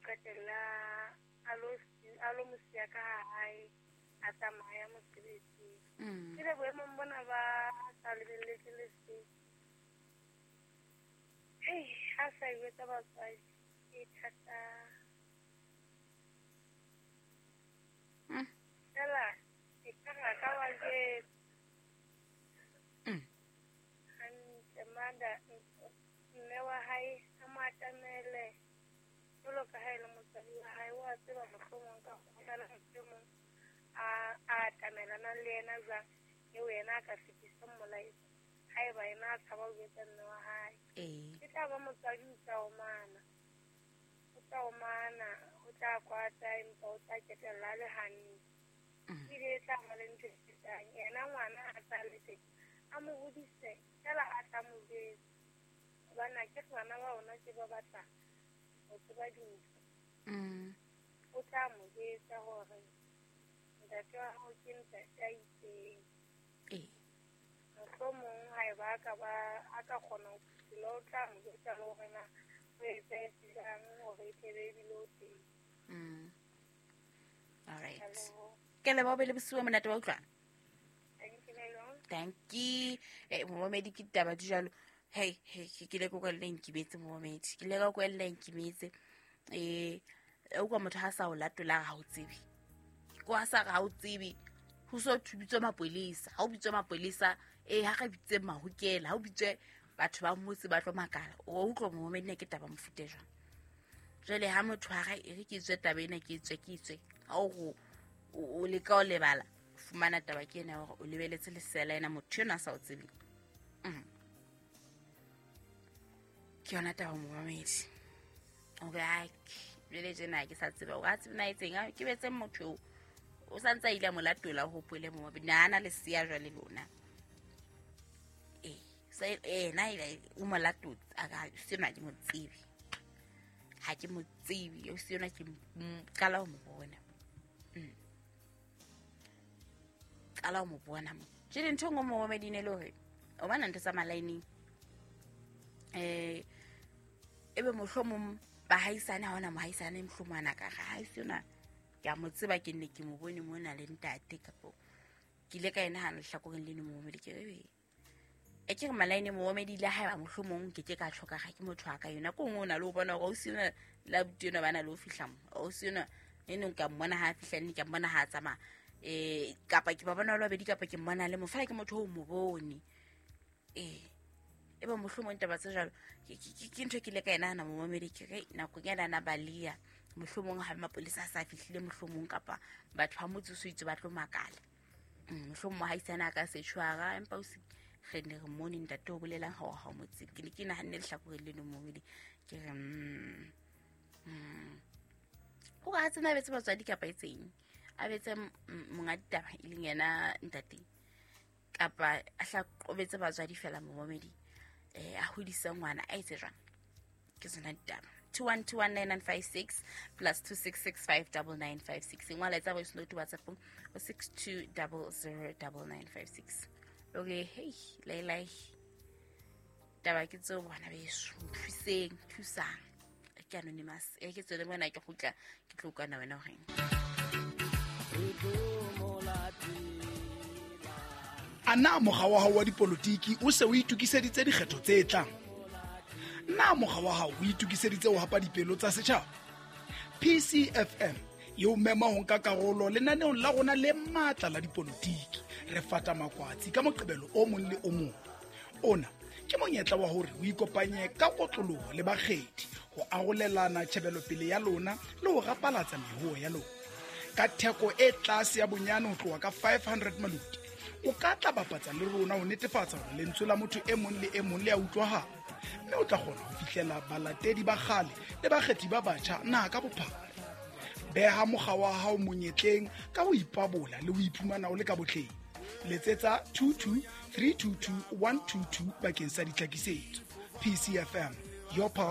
qetella a lo mo siya ka hae, a tsamaya mosebetsing. Ke le boemong bona ba sa lebelletse le se. Hei, ha sa e jwetsa batswadi, e thata. Fela, e ka re a ka ba jwetsa. Hantle, mada, mme wa hae a mo atamele jwalo ka ha e le motswadi wa hae, wa tseba mohlomong ka ho na le motho e mong a atamelanang le yena jwang, eo yena a ka fetisang molaetsa haeba yena a tshaba ho jwetsa mme wa hae. E tla ba motswadi o tla omana, o tla omana, o tla kwata, empa o tla ketella a le hantle. Ebile e tla ba le ntho e fetang yena ngwana a tla le teng, a mo hodise fela a tla mo jwetsa. Hobane a ke re bana ba rona ke ba batla ho tseba dintho. O tla mo jwetsa hore ntate wa hao ke ntate a itseng. Mohlomong haeba a ka ba a ka kgona ho phuthola, o tla mo jwetsa le hore na o etsahetse jwang hore e tlebe ebile o teng. All right. Ke leboha be le bosiu bo monate wa utlwa. Thank you. Momamedi ke ditaba di jalo. Hey, hey, ke ile ka kwella nkimetse momamedi. Ke ile ka kwella nkimetse. O kwa motho ha sa o latola ha o tsebe. Ko ha sa ha o tsebe. Ho so bitswe mapolesa. Ha o bitswe mapolesa, ha re bitse mahokela, ha o bitswe batho ba motse ba tlo makala. O utlwa momamedi ne ke taba mofuta jwang. Jwale ha motho ha re e re ke tswe taba ena, ke tswe, ke tswe. Ha o go o leka o lebala, fumana taba ke ena hore o lebeletse lesela ena motho ena a sa o tsebeng. Ke yona taba momamedi. Hore a jwale tjena ke sa tseba hore a tsebe na etseng, a ke betse motho eo. O sa ntse a ile a mo latola ho hopole momamedi. Na ana lesea jwale lona. Sa na ile o mo latotse, a ka sena ke mo tsebe. Ha ke mo tsebe, o se yona ke qala ho mo bona. Qala ho mo bona mo. Jwale ntho e nngwe momamedi ne le hore o bona ntho tsa malaeneng. Ebe mohlomong bahaisane ha hona mohaisane mohlomong ana ka re, ha se yona ke a mo tseba, ke nne ke mo bone mona le ntate, kapo ke ile ka ena hana lehlakoreng leno momamedi ke re, e ke re malaene momamedi le haeba mohlomong ke ke ka tjho ka ga ke motho wa ka yona. Ko nngwe o na le ho bona hore ausi enwa le abuti enwa ba na le ho fihla mo. Ausi enwa e neng ka mmona ha a fihla, nne ka mmona ha a tsamaya. Kapa ke ba bona ba le babedi, kapa ke mmona le mo. Feela ke motho o mo bone. Ebe mohlomong taba tse jwalo, ke ntho e ke ile ka e nahana momamedi, ke re nakong ya nana Balia, mohlomong ha mapolesa a sa fihlile mohlomong, kapa batho ba motse o so itse ba tlo makala. Mohlomong mohaisane a ka se tshwara, empa o se re ne re mmone ntate o bolelang ha o ha o mo tsebe. Ke ne ke nahanne lehlakoreng leno momamedi, ke re, O ka tsena a betse batswadi kapa e tseng, a betse monga ditaba e leng yena ntate, kapa a hla qobetse batswadi fela momamedi, a hodise ngwana a etse jwang. Ke tsona ditaba. 21219956 plus two six six five double nine five six. Ngwala etsa voice note WhatsApp o six two double zero double nine five six. Okay, hey, lay lay. Taba ke tseo bana beso, nthuseng, thusang. Ke anonymous. E ke tswele mona ke kgutla, ke tlo utlwana wena horeng. A na mokga wa hao wa dipolotiki o se o itokiseditse dikgetho tse tlang? Na mokga wa hao o itokiseditse ho hapa dipelo tsa setjhaba? PCFM e o mema ho nka karolo lenaneong la rona le matla la dipolotiki. Re fata makwatsi ka Moqebelo o mong le o mong. Ona ke monyetla wa hore o ikopanye ka kotloloho le bakgethi ho arolelana tjhebelopele ya lona le ho rapalatsa mehoo ya lona. Ka theko e tlase ya bonyane ho tloha ka 500 maluti, o ka tla bapatsa le rona ho netefatsa hore lentswe la motho e mong le e mong le a utlwahala, mme o tla kgona ho fihlela balatedi ba kgale le bakgethi ba batjha naha ka bophara. Beha mokga wa hao monyetleng ka ho ipabola le ho iphumana o le ka botleng. Letsetsa two two three two two one two two bakeng sa ditlhakisetso. PCFM, your pulse.